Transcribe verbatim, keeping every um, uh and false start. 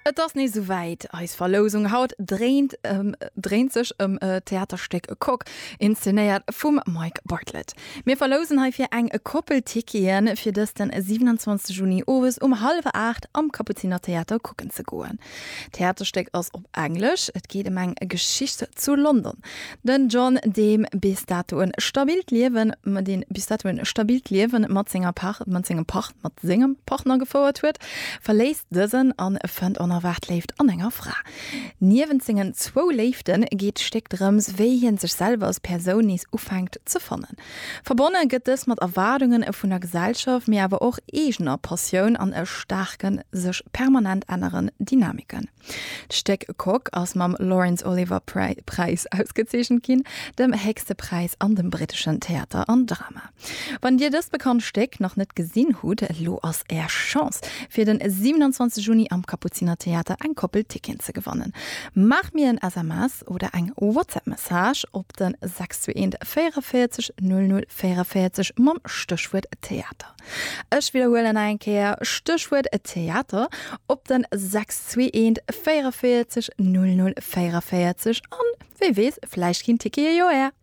Et ass nees souwäit, eis Verlousung haut dréint ëm dréint sech ëm d'Theaterstéck Cock, inszenéiert vum Mike Bartlett. Mir verlousen heifir eng Koppel Ticketen, fir dëst den siwenanzwanzeg Juni owes um hallwer aacht am Kapuzinertheater kucken ze goen. D'Theaterstéck ass op Englesch, et geet ëm eng Geschicht zu London. Den John, deem bis dato en stabilt Liewen, deen bis dato en stabilt Liewen mat senger Par mat sengem Par mat sengem Partner gefouert huet, verléisst dësen an fënnt onerwaart Léift an enger Fra. Niewent sengen zwou Léifte geet d'Stéck drëms, wéi hien sech selwer als Persoun nees ufänkt ze fannen. Verbonne gëtt dës mat Erwaardunge vun der Gesellschaft, mee awer och eegener Passioun an e staarken, sech permanent änneren Dynamiken. D'Stéck Cock ass mam Laurence Olivier Präis ausgezeechent ginn, dem héchste Präis an dem britteschen Theater an Drama. Wann Dir dëst bekannt Stéck nach net gesinn hutt, elo ass Är Chance, fir den siewenundzwanzeg Juni am Kapuzinertheater eng Koppel Ticketen ze gewannen. Maacht mir en S M S oder eng WhatsApp Message op den sechs zwee eent véierunvéierzeg null null véierunvéierzeg mam Stéchwuert Theater. Ech widderhuelen nach eng Kéier, Stéchwuert Theater op den sechs zwee eent véierunvéierzeg null null véierunvéierzeg an wee weess, vläicht ginn d'Tickete jo är.